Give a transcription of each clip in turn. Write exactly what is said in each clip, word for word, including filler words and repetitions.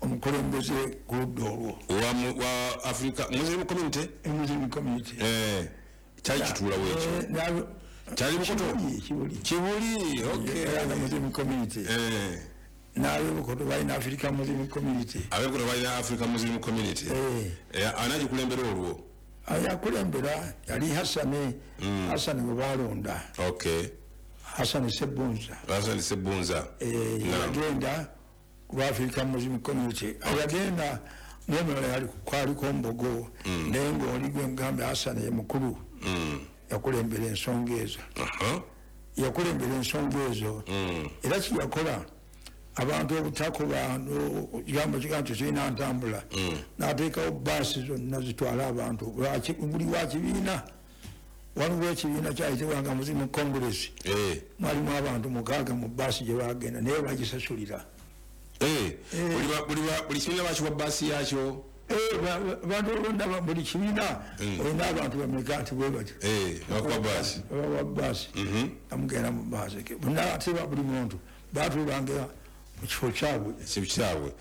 Omukulembeze ku ludda olwo wa, wa Africa Muslim Community. Muslim Community. Eh, kyali kituulawo ekyo? Eh, kyali Bukoto? Kibuli. Kibuli, okay. Uganda Muslim Community. Eh. N'abebukoto balina Africa Muslim Community. Abebukoto balina Africa Muslim Community. Eh. Eh, anagikulembera olwo? Yakulembera yali Hasani, mm. Hasani gwe balonda. Okay. Hasani Sebunza. Hasani Sebunza. Eh, yagenda ku Africa Muslim Community. Yagenda n'omulala yali kwaliko Mbogo, mm. naye ng'oli gwe ngambe Hasani ye mukulu. Mm. Yakulembera ensonga ezo. Uh-huh. Yakulembera ensonga ezo. Mm. Era kiyakola abantu obutakuba kigambo kiga nti kirina ntambula, mm. n'ateekawo baasi zonna zitwala abantu buli wa kibiina. Waliwo ekibiina kyayitibwanga Muslim Congress, eh. mwalimu abantu mukaaga mu baasi gye bagenda, naye bagisasulira. Eh. Buli kibiina bakiwa baasi yakyo? Abantu olonda buli kibiina olina abantu bameka nti bwe batyo, bakuwa baasi, babawa baasi, amugenda mu baasi bonna, ate buli muntu batuulanga mu kifo kyabwe. Kifo kyabwe.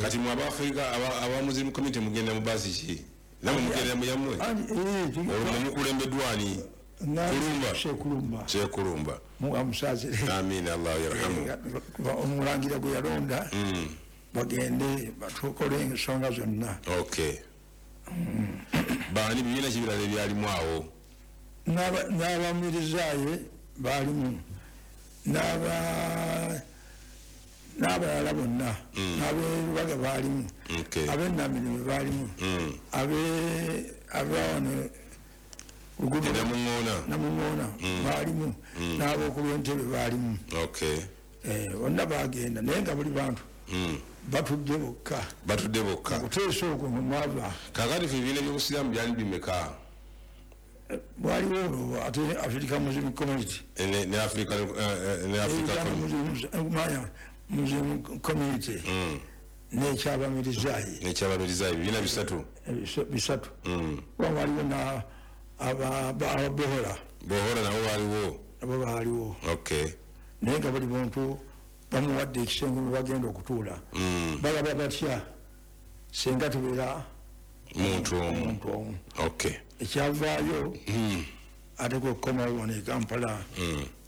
Kati mwe Abafrika aba Muslim Community mugenda mu baasi ki? Namwe mugenda mu yammwe? Olwo mukulembeddwa ani? Kulumba. Shekulumba. Shekulumba. Amusaasire. Amina, Allah yarhamu. Omulangira gwe yalonda bagende batukole ensonga zonna. Okay. Baani bibiina ki birala ebyalimu awo? N'abamirizaaye baalimu, n'aba n'abalala bonna, n'aberubaga baalimu, ab'enamirimu baalimu, abawano Namuŋŋoona Namuŋŋoona baalimu, n'ab'okulw'entebe baalimu. Okay. Bonna bagenda, naye nga buli bantu batudde bokka. Batudde bokka. Okuteesa okwo mwe mwava. Kaakati ffe ebibiina by'obusiraamu byali bimeka? Waliwo olwo ate Africa Muslim Community. Ne Africa ne Africa Muslim Community n'ekyabamirizaayi. N'ekyabamirizaayi ebibiina bisatu. Bisatu. Waliwo na ababohora. Bohora nabo baaliwo. Nabo baaliwo. Okay. Naye nga buli muntu bamuwadde ekisenge mwe bagenda okutuula. Balaba batya senga tubeera muntu omu. Muntu omu. Okay. Ekyavaayo ate kwe kukomawo wano e Kampala,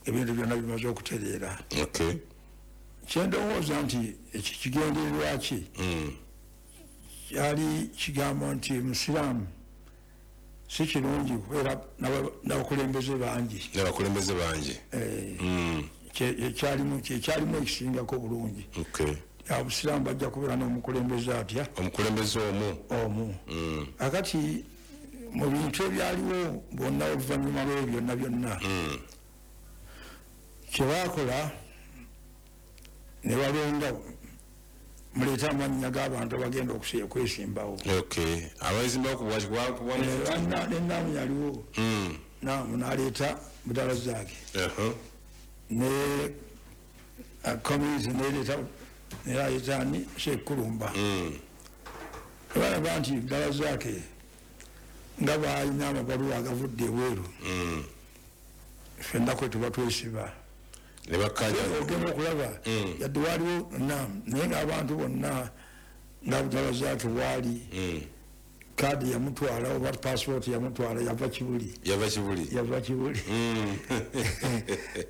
ebintu byonna bimaze okutereera. Okay. Kyendowooza nti ekyo kigendererwa ki? Kyali kigamba nti Musiraamu si kirungi kubeera n'abakulembeze bangi. N'abakulembeze bangi. Kyalimu kyalimu ekisingako obulungi. Okay. Abusiraamu bajja kubeera n'omukulembeze atya? Omukulembeze omu. Omu. Akati mu bintu ebyaliwo bonna oluvannyuma lw'ebyo byonna byonna, kye baakola ne balonda muleete amannya g'abantu abagenda okwesimbawo. Okay. Abeesimbawo ku bwa Naamu yaliwo. Naamu n'aleeta Budalazaake. Ne community n'ereeta n'aleeta ani Shekulumba. Balaba nti Budalazaake nga baalina amabaluwa agavudde ebweru, ffenna kwe tuba twesiba. Ne bakkaanya. Ogenda okulaba yadde waliwo Naamu, naye ng'abantu bonna nga Budalazaake bwali, kaadi yamutwala oba pasipooti yamutwala, yava Kibuli. Yava Kibuli. Yava Kibuli.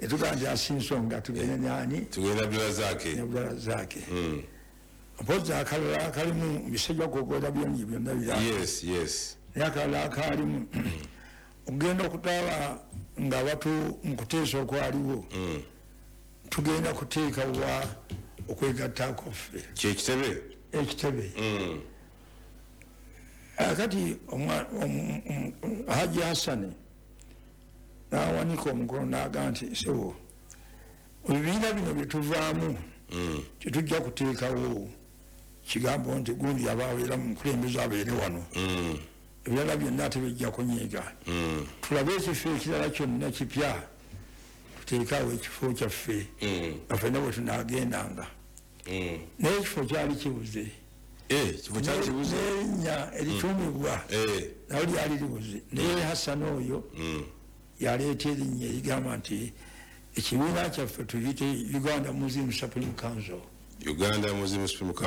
Etugaa nti asi nsonga tugende nani? Tugende Abdulazaake. Ne Abdulazaake. Mpozzi akalala akalimu bisajja kwogera byongi byonna bira. Yes, yes. Naye akalala akalimu ogenda okutaba nga batu mu kuteesa okwaliwo, tugenda kuteeka wa okwegatta kwaffe. Kye kitebe? Ekitebe. Akati Haji Hasani n'awanika omukono n'agamba nti ssebo, ebibiina bino bye tuvaamu tetujja kuteekawo kigambo nti gundi aba abeera mukulembeze abeere wano, ebirala byonna tebijja kunyiiga. Tulabe ekifo ekirala kyonna kipya, tuteekawo ekifo kyaffe nga ffenna bwe tunaagendanga. Naye ekifo kyali kibuze. Ekifo kyali kibuze. N'erinnya erituumibwa nalyo lyali libuze. Naye Hasani oyo yaleeta erinnya erigamba nti ekibiina kyaffe tuyite Uganda Muslim Supreme Council. Uganda Muslim Supreme Council.